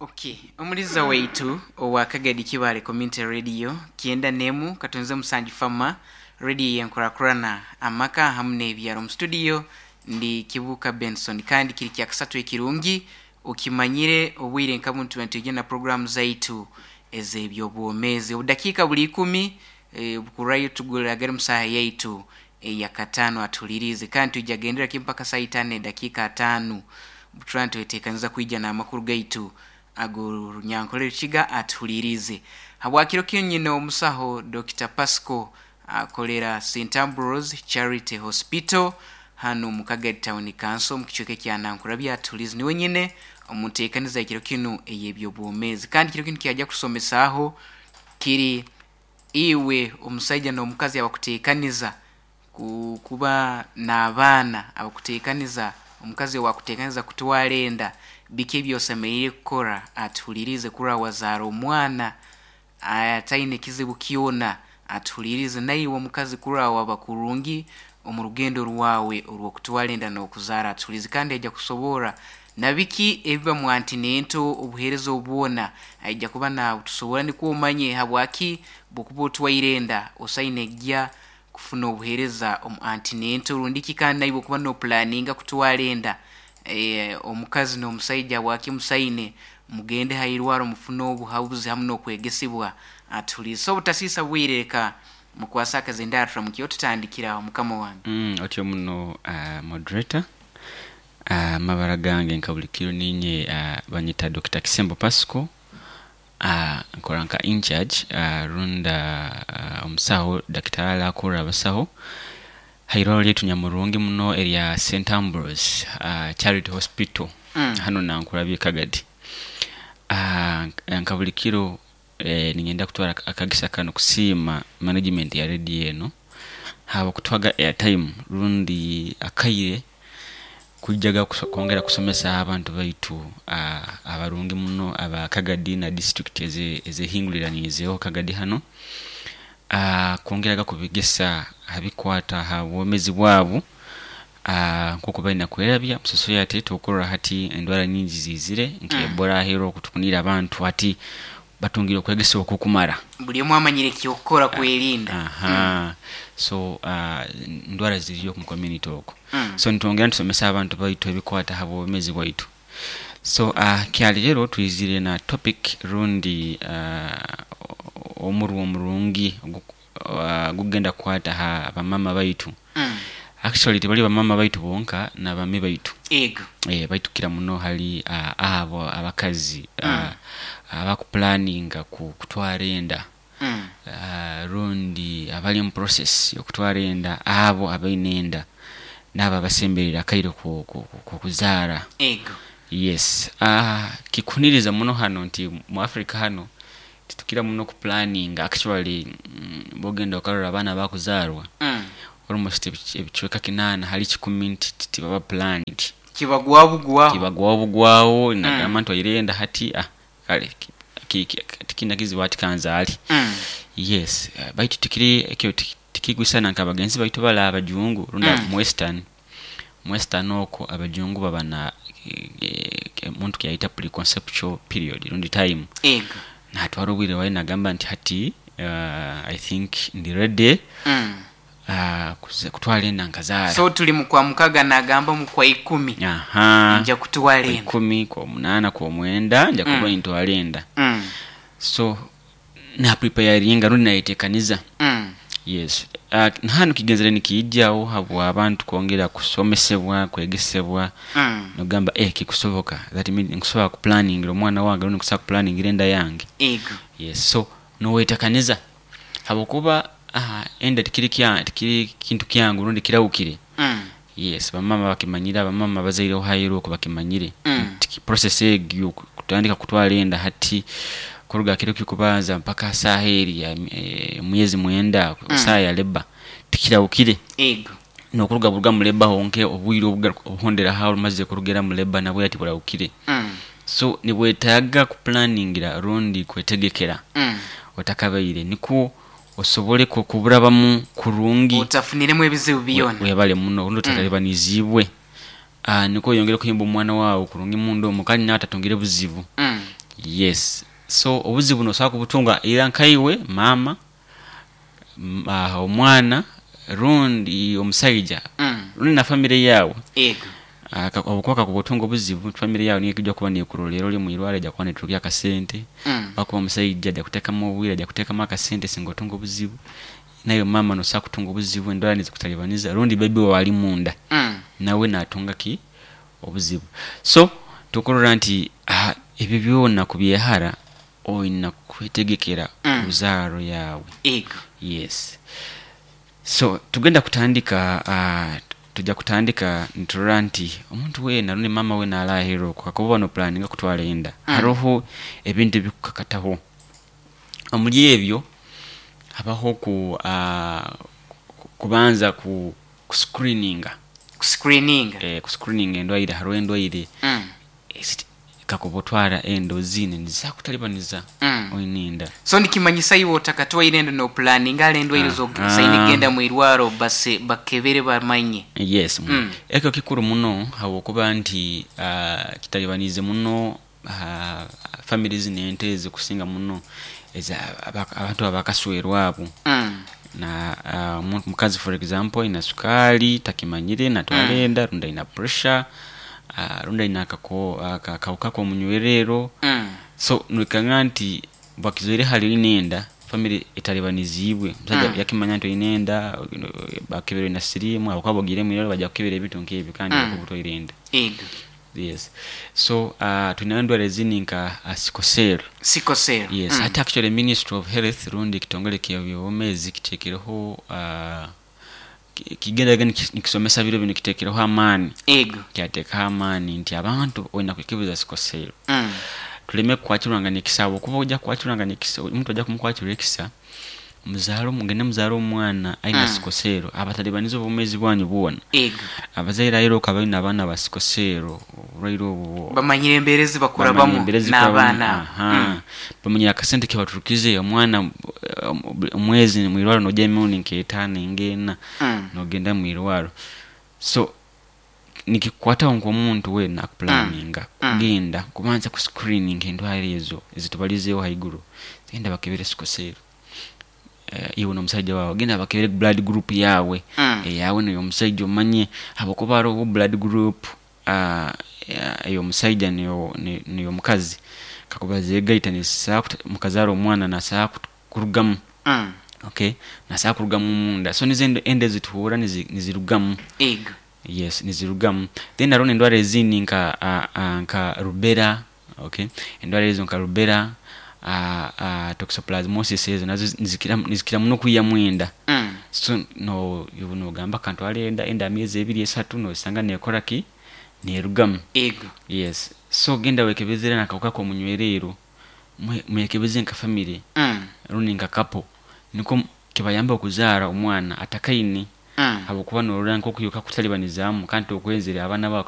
Okay, omuliza waitu owa Kagadi Kibale Community Radio 91 katonze musanju fama radio yenkurakurana amaka hamu n'ebyaro. Mu studio ndi Kibuka Benson, kandi kiri kya kasatu ekirungi okimanyire obwire nka buntu nitwija na programu zaitu ez'ebyobwomeezi. Obudakiika buli ikumi bukurayo tuguragere mu saaha yaitu eya kataano atulirize, kandi twija gendera kimu mpaka saa itaano n'edakiika ataano. Butura nitweteekaniza kwija n'amakuru gaitu ag'orunyankole Rukiga atuhulirize. Habwakiro kinu nyine omusaho Dr. Pasco akolera St. Ambrose Charity Hospital hanu mu Kagadi Town Council omu kicweka ekya Nankurabya atuhulize. Niwe nyine omu nteekaniza y'ekiro kinu ey'ebyobwomeezi. Kandi kiro kinu kyajja kusomesaaho kiri iwe omusaija n'omukazi abakuteekaniza kuba n'abaana, abakuteekaniza omukazi owaakuteekaniza kutwara enda, biki ebi osemeriire kukora atuhulirize kurora wazaara omwana ataine kizibu kyona atuhulirize. Naiwe omukazi kurora waba kurungi omu rugendo rwawe orw'okutwara enda n'okuzaara atuhulirize. Kandi aija kusoborra na biki ebiba mu antinento, obuheereza obu bwona aija kuba naabutusoborra nukwo omanye habwaki bw'okuba otwaire enda osaine kugya kufuna obuheereza omu antinento rundi ki. Kandi naiwe okuba noopulaninga kutwara enda, omukazi n'omusaija habwaki musaine mugende ha irwaro mufune obuhabuzi hamu n'okwegesibwa atuhuliize. So obutasiisa bwire leka mukwase akazindaaro turamukyeho tutandikire aho mukama wange. Otyo muno moderator. Amabara gange nka buli kiro ninye banyeta Dokita Kisembo Pasco. Nkora nka incharge rundi omusaho dakitari akurra abasaho ha irwaro lyaitu nyamurungi muno erya Saint Ambrose Charity Hospital hanu Nankulabye Kagadi. Nka buli kiro niinyenda kutwara akagisa kanu kusiima management ya radio eno habw'okutuhaga airtime rundi akaire kwijaga kwongera kusomesa abantu baitu abarungi muno aba Kagadi na disiturikiti ezehinguliraniizeho Kagadi hanu, kwongeraga kubegesa ha bikwata ha bwomezi bwabu nk'oku baine kwerabya omu society. Twokurora hati endwara nyingi ziizire nka Ebola aheeru oku tukuniire abantu hati batungire okwegesebwa okukumara. Buli omu amanyire eky'okukora kwerinda. Aha, so endwara ziriyo omu community okwo. So nitwongera nitusomesa abantu baitu ebikwata ha bwomezi bwaitu. So kyaleero twizire na topic rundi omurwa omurungi ogukugenda kukwata ha bamama baitu. Actually tibali bamama baitu bonka n'abami baitu. Ego. Baitu kukira muno hali abo abakazi abakupulaninga kutwara enda rundi abali omu process y'okutwara enda, abo abaine enda n'abo abasembereire akaire k'okuzaara. Ego. Yes, kikuhuniriza muno hanu nti mu Africa hanu titukira muno kupulaninga actually bwogenda okarora abaana abakuzaarwa almost ebicweka kinaana hali kikumi nti tibaba planned. Kibagwaho bugwaho. Kibagwaho bugwaho nagamba ntwaire enda hati kale tikiine kizibu hati kanzaale. Yes, baitu tikiri ekyo tikikwisana nka bagenzi baitu bale abajungu rundi mu western. Mu western okwo abajungu baba na omuntu kyayeta preconceptual period rundi time. Ego. Natwara obwire bwaye nagamba nti hati I think ndi ready kutwara enda nkazaara. So tuli mu kwa mukaga nagamba mu kwa ikumi Aha. nja kutwara Kwa enda. ikumi, kwa munaana, kwa mwenda nja kuba nintwara enda. So na preparinga rundi nayetekaniza. Yes. Hanu kigenzere nikiijaho habwa abantu kwongera kusomesebwa, kwegesebwa nogamba kikusoboka that means nkusobola kupulaningira omwana wange rundi nkusobola kupulaningira enda yange. Ego. Yes, so nowetekaniza habwokuba enda tikiri tikiri kintu kyangu rundi kirahukire. Yes, bamama bakimanyire, abamama abazaireho haheru oku bakimanyire. Nti process egyo kutandika kutwara enda hati kuruga ha kiro ky'okubanza mpaka ha saaha eri emyezi mwenda saaha ya labour tikirahukire. Ego. N'okuruga buruga mu labour honke obwire obuhonderaho omazire kurugira mu labour nabwo tiburahukire. So nibwetaaga kupulaningira rundi kwetegekera otakabaire nikwo osobole kuburabamu kurungi. Otafuniremu ebizibu byona. Webale muno rundi otatalibaniziibwe. Nikwo oyongere kuhimba omwana waawe kurungi munda omu kandi nawe atatungire buzibu. Yes, so obuzibu nosobola kubutunga either nkaiwe maama, omwana rundi omusaija rundi na famire yaawe. Ego. Habwokuba kakuba otunga obuzibu, famire yaawe niyo ekujya kuba nekurorerra ori mwirwaro ejya kuba neturukya akasente, habwokuba omusaija ajya kutekamu obwire, ajya kutekamu akasente singa otunga obuzibu, naiwe maama nosobola kutunga obuzibu endwara nizikutalibaniza rundi bebi waawe ali munda nawe natunga ki obuzibu. So tukurora nti ebyo byona kubyehara oyina kwetegekera ruzaaro yaawe. Ego. Yes. So tugenda kutandika, tujja kutandika niturora nti omuntu weena rundi maama weena ali aheeru oku kakuba oba nopulaninga kutwara enda, haroho ebintu ebikukakataho. Omuri ebyo habaho kubanza ku kuscreeninga. Kuscreeninga. Kuscreeninga endwaire, haroho endwaire kakuba otwara enda oziine nizisobola kukutalibaniza oine enda. So nikimanyisa iwe otakatwaire enda nopulaninga hali endwaire zosaine kugenda mwirwaro base bakebere bamanye. Yes. Ekyo kikuru muno habwokuba nti kitalibaniize muno famire zinu ento ezikusinga muno abantu abakaswerwa abo. Na omukazi for example aina sukaali takimanyire natwara enda, rundi aina pressure, rundi aina akawuka k'omunywererro. So noikanga nti bakizoire hali oine enda, famire etalibaniziibwe, omusaija yakimanya nti oine enda, bakebera oina siriimu habwokuba bwogiire mwirwaro bajja kukebera ebintu nk'ebyo kandi okaba otwaire enda. Ego. Yes. So twinayo endwara ezindi nka sickle cell. Sickle cell. Yes. Hati actually Ministry of Health rundi ekitongole ky'ebyobwomeezi kiteekereho, kigenda nikisomesa biro binu, kiteekereho amaani. Ego. Kyateekaho amaani nti abantu oyina kwekebeza sickle cell. Tuleme kukwakirwangana ekisa, habwokuba ojja kukwakirwangana ekisa, omuntu ojja kumukwakirwa ekisa, muzaare, mugende muzaare omwana aina sickle cell, abatalibaniza obwomeezi bwanyu bwona. Ego. Abazaire aheeru okaba oine abaana ba sickle cell, oburwaire obu bamanyire embeera ezi bakurabamu bamanyire embeera ezi bakurabamu. N'abaana abo. Bamanyire akasente kebaturukize omwana omwezi mwirwaro nojya emirundi nk'etaano ng'ena nogenda mwirwaro. So nikikukwataho nk'omuntu weena akupulaninga kugenda kubanza kuscreeninga endwara ezo ezitubalizeeho haiguru. Genda bakebere sickle cell. Iwe n'omusaija waawe genda bakebere blood group yaawe, eyaawe n'ey'omusaija omanye, habwokuba haroho blood group ey'omusaija n'ey'omukazi kakuba zeegaita nizisobola mukazaara omwana nasobola kurugamu. Okay, nasobola kurugamu omunda. So nizo enda ezituhurra nizirugamu. Ego. Yes, nizirugamu. Then haroho n'endwara ezindi nka rubella, okay? Endwara ezo nka rubella, toxoplasmosis ezo nazo nizikira muno kwihamu enda. So no iwe nogamba kantwale enda, enda myezi ebiri esatu nosanga nekora ki? Nerugamu. Ego. Yes. So genda wekebezere n'akawuka k'omunywererro, mwekebeze nka famire rundi nka couple, nikwo kibayambe okuzaara omwana atakaine, habwokuba norora nk'oku iwe kakutalibanizamu kandi tokwenzere abaana baawe.